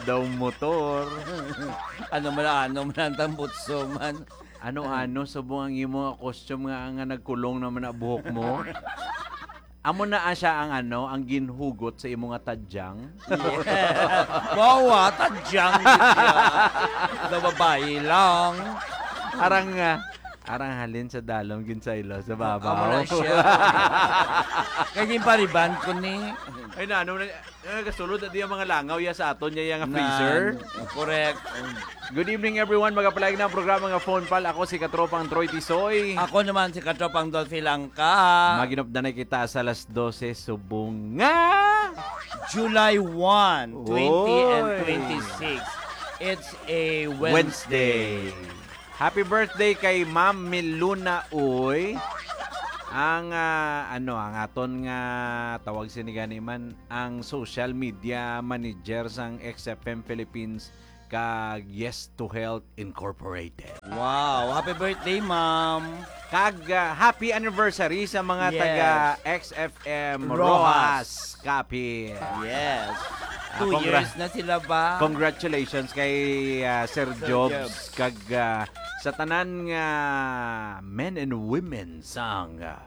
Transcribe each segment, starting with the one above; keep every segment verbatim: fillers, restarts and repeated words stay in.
Daw motor. Ano man, ano man ang tambutso man. Ano-ano, subong ang imo nga costume nga, nga nagkulong naman na buhok mo? Amo na siya ang ano, ang ginhugot sa imo nga tadyang? Yes. Bawa, tadyang gid siya. Sa babae lang. Arang, ah, arang halin sa dalom, ginsaylo sa babaw. Amo na siya. Kaya ginpariban ko ni. Ay, na, ano na, nagasulod na di ang mga langaw ya sa aton, ya, ya nga Na, freezer. Correct. Good evening, everyone. Magapalag na ang programa nga Phone Pal. Ako si Katropang Troy Tisoy. Ako naman si Katropang Dolphy Langka. Maginop na kita sa alas dose subong nga July one, twenty and Oy. twenty-six. It's a Wednesday. Wednesday. Happy birthday kay Ma'am Miluna Uy. Ang, ah, ano, ang aton nga tawag sini gani man, ang social media manager sang X F M Philippines kag Yes to Health Incorporated. Wow, happy birthday, ma'am. Kag, ah, happy anniversary sa mga Yes. taga X F M Roxas. Roxas Capiz. Yes. Ah, Two congra- years na sila ba? Congratulations kay, ah, Sir Sir Jobs Jobs. kag, ah, sa tanan nga men and women sang, ah,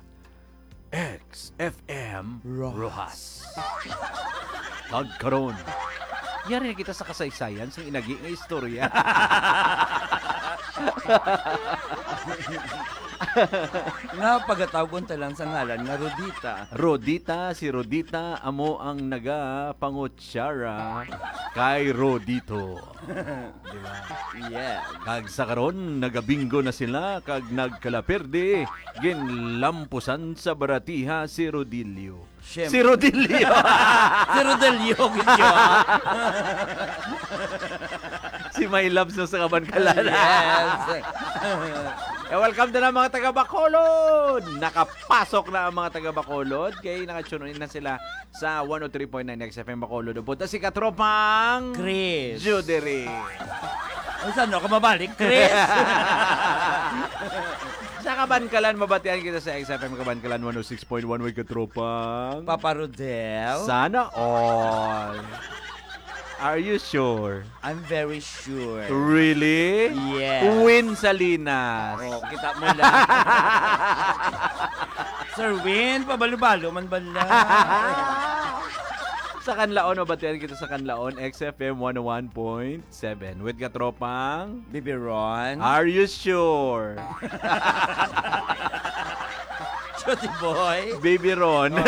X F M Roxas. Roxas. Kag karon, yari na kita sa kasaysayan sang inagi nga istorya. Nga pagatawgon ta lang sa ngalan nga Rodita. Rodita, si Rodita amo ang nagapangutsara kay Rodito. Di ba? Yes. Kag sa karon, nagabingo na sila kag nagkalaperde, ginlampusan sa baratiha si Rodilio. Siyempre. Si Rodilio. Si Rodilio, gid siya. Si My Loves na sa Kabankalan. Yes. Eh, welcome na lang, mga taga Bacolod. Nakapasok na ang mga taga Bacolod. Kay naka-tune in na sila sa one oh three point nine X F M Bacolod. Upod na si Katropang Chris. Judery. Uy, saan ako mabalik, Chris? Sa Kabankalan, mabatian kita sa X F M Kabankalan one oh six point one with Katropang Papa Rodel. Sana all. Are you sure? I'm very sure. Really? Yes. Win Salinas. Oh, kita mo lang. Sir Win, pabalo-balo man bala. Sa Canlaon, mabatian kita sa Canlaon, X F M one oh one point seven. With Katropang Bibi Ron. Are you sure? Cutie boy. Baby Ron. Oh.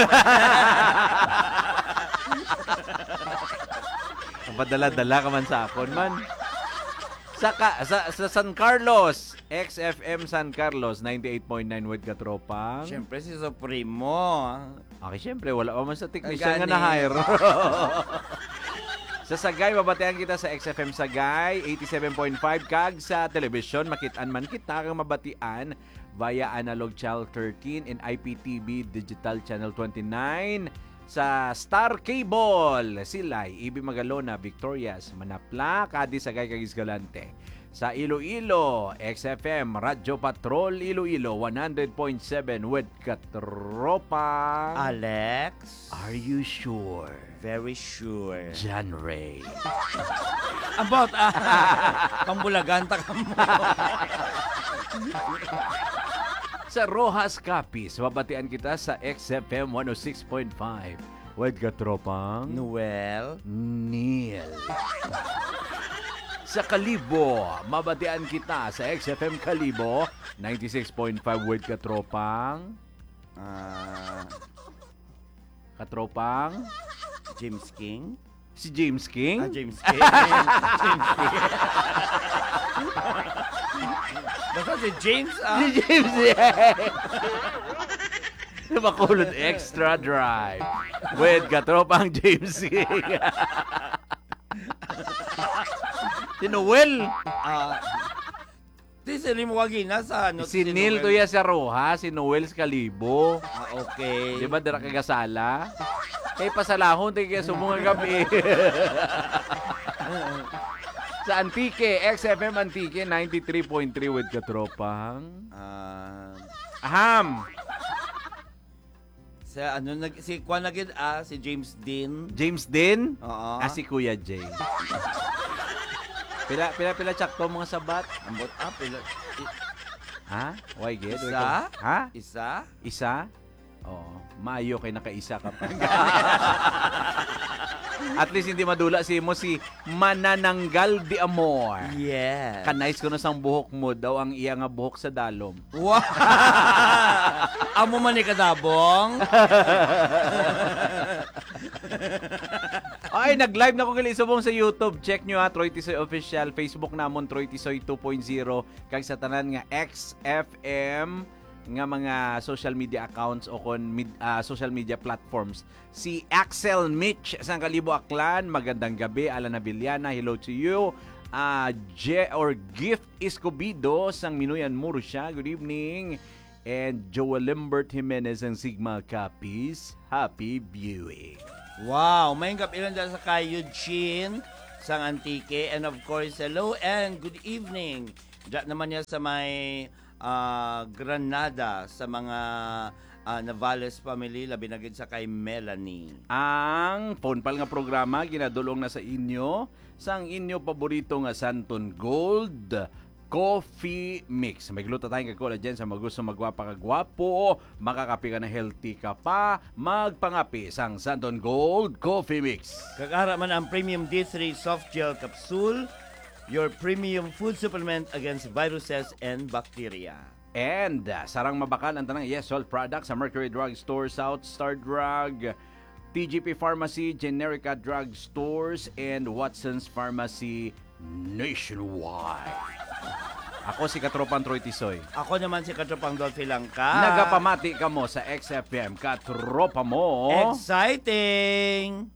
Ang padala-dala ka man sa akon, man. Sa ka-, sa, sa San Carlos, X F M San Carlos, ninety-eight point nine with Katropang. Siyempre, si Supremo. Okay, siyempre, wala pa man sa technician nga Gani. na-hire. Sa Sagay, mabatian kita sa X F M Sagay, eighty-seven point five, kag sa telebisyon, makit-an man kita kag mabatian via analog channel thirteen and I P T V digital channel twenty-nine. Sa Star Cable, Silay, Ibi Magalona, Victorias, Manapla, Cadiz, Sagay, kag Escalante. Sa Iloilo, X F M, Radyo Patrol, Iloilo, one hundred point seven with Katropang Alex. Are you sure? Very sure. John Ray. About, ah, pambulagan ta kamo. Sa Roxas Capiz, mabatian kita sa X F M one oh six point five. With Katropang Noel. Neil. Sa Kalibo, mabatian kita sa X F M Kalibo, ninety-six point five with Katropang. Ah, Katropang? James King? Si James King? Ah, James King. James King. Basta si James, ah. Si James, yeah. Sa Bacolod Extra Drive with Katropang James King. Si Noel. Ah, Di, sino mo wagi na sa, ano, Si si Neil Noel? to ya sa Roxas, si Noel sa Kalibo. Ah, okay. Di ba, dira ka gasala? Kay pasalahon, tayo kaya sumong nga gabi. Sa Antique, X F M Antique, ninety-three point three with Katropang. Ah. Aham! Sa ano, nag-, si Kwan na gid, ah, si James Dean. James Dean? Oo. Ah, si Kuya James. Pila, pila, pila, tsakto mga sabat? Ambot, ah, pila, i- Ha? Why gid? Isa? Ha? Isa? Isa? Oo. Maayo kay nakaisa ka pa. At least hindi madula si mo si Manananggal de Amor. Yes. Kanais ko na sang buhok mo daw ang iya nga buhok sa dalom. Wa-, amo man ni kadabong. Ay, nag-live na ko gali subong sa YouTube. Check nyo ha, Troy Tisoy Official. Facebook namon, Troy Tisoy two point zero. Kag sa tanan nga X F M nga mga social media accounts o kon mid-, ah, social media platforms. Si Axel Mitch sang Kalibo, Aklan, magandang gabi. Alan Avellana, hello to you. Ah, Je or Gift Escobido sang Minuyan, Murcia, good evening. And Joel Lambert Jimenez sang Sigma Capiz, happy viewing. Wow, may gab-i lang dyan sa kay Eugene sang Antique. And of course, hello and good evening. Diyan naman niya sa may, ah, Granada, sa mga, ah, Navales family, labi na gid sa kay Melanie. Ang phone pal nga programa ginadulong na sa inyo sang inyo paborito nga Santon Gold Coffee Mix. May glutathione kag collagen sa magusto magwapa kag gwapo. Makakape ka na, healthy ka pa. Magpangape sang Santon Gold Coffee Mix. Kag ara man ang Premium D three Soft Gel Capsule, your premium food supplement against viruses and bacteria. And, ah, sarang mabakal ang tanang Yes Salt products sa Mercury Drug Store, South Star Drug, T G P Pharmacy, Generica Drug Stores, and Watson's Pharmacy nationwide. Ako si Katropang Troy Tisoy. Ako naman si Katropang Dolphy Langka. Nagapamati kamo sa X F M, Katropa Mo. Exciting!